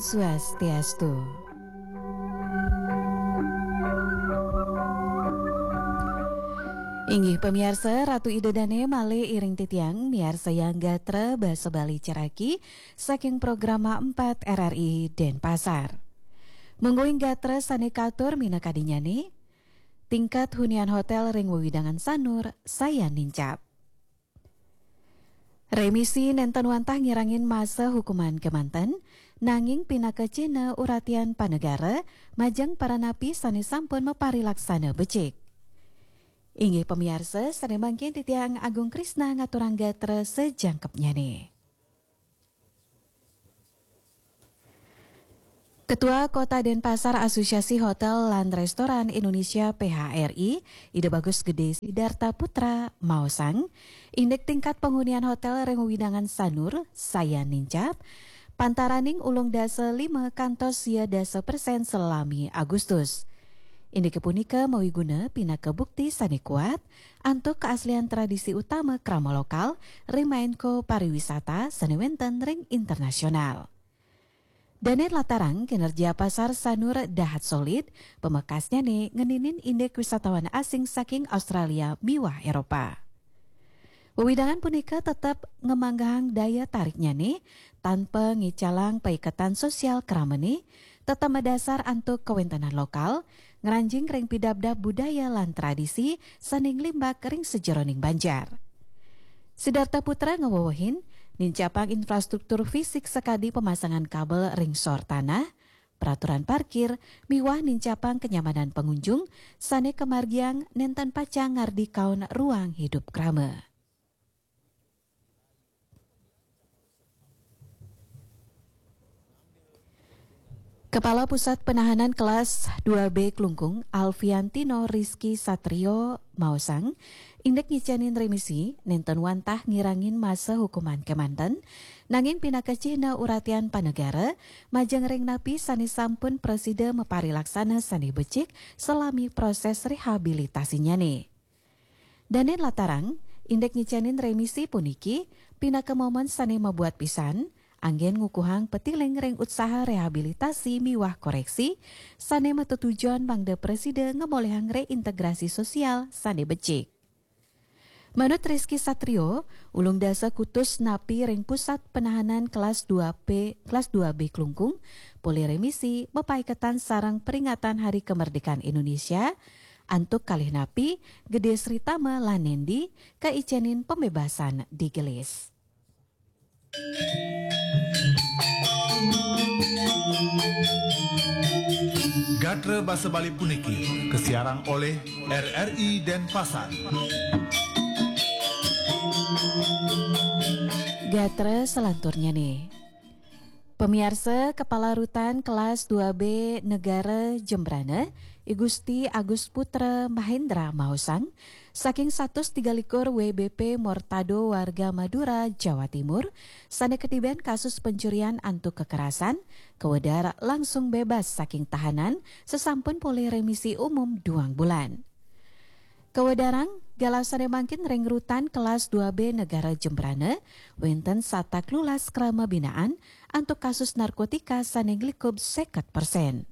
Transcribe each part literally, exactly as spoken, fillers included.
Swastiastu. Inggih pamiarsa, Ratu Ida Dane malih iring titiang miarsayang gatra basa Bali caraki saking Programa empat R R I Denpasar. Mungguing gatra sane katur minakadinyane, tingkat hunian hotel ring wewidangan Sanur sayan nincap. Remisi nenten wantah ngirangin masa hukuman kemanten, nanging pinaka cihna uratian panegara majeng para napi sane sampun maparilaksana becik. Inggih pamiarsa, sane mangkin titiang Agung Krisna ngaturang gatra sajangkepnyane. Ketua Kota Denpasar Asosiasi Hotel lan Restoran Indonesia P H R I, Ida Bagus Gede Sidarta Putra, maosang, indik tingkat panghunian hotel ring wewidangan Sanur sayan nincap, pantaraning ulung dasa lima kantos sia dasa persen salami Agustus. Indike punika mawiguna pinaka bukti sane kuat antuk kaaslian tradisi utama krama lokal ring maengko pariwisata sane wenten ring internasional. Dane latarang kinerja pasar Sanur dahat solid, pamekasnyane ngeninin indik wisatawan asing saking Australia miwah Eropa. Wewidangan punika tetep ngamanggehang daya tariknyane tanpa ngicalang paiketan sosial kramane, tetep madasar antuk kawentenan lokal, ngranjing ring pidabdab budaya lan tradisi sane nglimbak ring sajeroning banjar. Sidarta Putra ngawewehin, nincapang infrastruktur fisik sakadi pamasangan kabel ring sor tanah, peraturan parkir, miwah nincapang kenyamanan pangunjung sane kamargiang nenten pacang ngardi kaon ruang hidup krama. Kepala Pusat Penahanan Kelas dua B Klungkung, Alfiantino Rizky Satrio, maosang, indik ngicenin remisi nenten wantah ngirangin masa hukuman kemanten, nanging pinaka cihna uratian panegara majeng ring napi sane sampun prasida maparilaksana sane becik salami proses rehabilitasinyane. Dane latarang, indik ngicenin remisi puniki pinaka momen sane mabuat pisan, anggen ngukuhang patiling ring utsaha rehabilitasi miwah koreksi sane matetujon mangda prasida ngamolihang reintegrasi sosial sane becik. Manut Rizky Satrio, ulung dasa kutus napi ring pusat penahanan kelas dua B, kelas dua B Klungkung, polih remisi mapaiketan sareng peringatan Hari Kemerdekaan Indonesia, antuk kalih napi, Gede Sri Tama lan Nendi, kaicenin pembebasan digelis. Gatra basa Bali puniki kasiarang olih R R I Denpasar. Gatra salanturnyane. Pamiarsa, Kepala Rutan Kelas dua B Negara Jembrana, I Gusti Agus Putra Mahendra maosang, saking satus tiga likur W B P Mortado warga Madura, Jawa Timur, sane katiben kasus pencurian antuk kekerasan, kawedar langsung bebas saking tahanan sasampun polih remisi umum duang bulan. Kawedarang, galah sane mangkin ring rutan kelas dua B Negara Jembrana, wenten satak lulas krama binaan antuk kasus narkotika sane nglikub seket persen.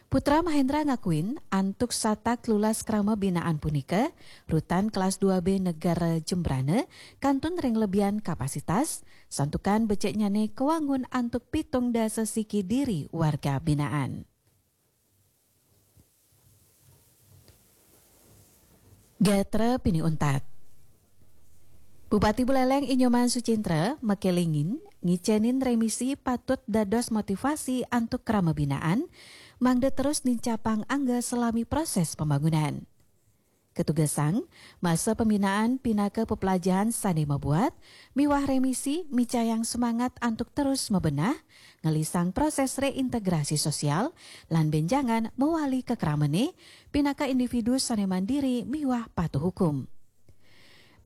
Putra Mahendra ngakuin, antuk satak lulas krama binaan punika, rutan kelas dua B Negara Jembrana kantun ring lebihan kapasitas, santukan beciknyane kawangun antuk pitung dasa siki diri warga binaan. Gatra pinih untat. Bupati Buleleng I Nyoman Sucindra makelingin ngicenin remisi patut dados motivasi antuk krama binaan, mangda terus nincapang angga salami proses pembangunan. Katugesang, masa pembinaan pinaka peplajahan sane mabuat, miwah remisi micayang semangat antuk terus mabenah, ngelisang proses reintegrasi sosial, lan benjangan mawali ka kramane, pinaka individu sane mandiri miwah patuh hukum.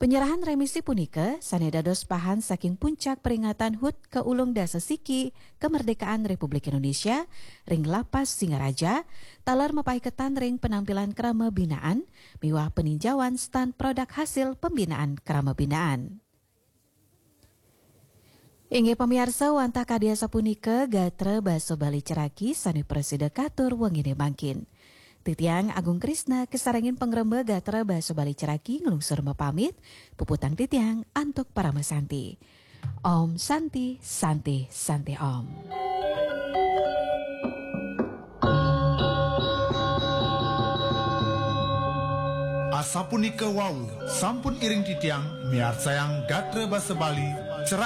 Penyerahan remisi punika sane dados pahan saking puncak peringatan hud kaulung dasa siki kemerdekaan Republik Indonesia ring Lapas Singaraja, taler mapaiketan ring penampilan krama binaan miwah peninjauan stand produk hasil pembinaan krama binaan. Inggih pamiarsa, wantah kadi asapunika gatra basa Bali Ceraki sane prasida katur wengine mangkin. Titiang Agung Krisna kasarengin pangremba gatra basa Bali Ceraki nglungsur mapamit, puputang titiang antuk parama santi. Om Santi, Santi, Santi Om. Asapunika wau, sampun iring titiang miarsayang gatra basa Bali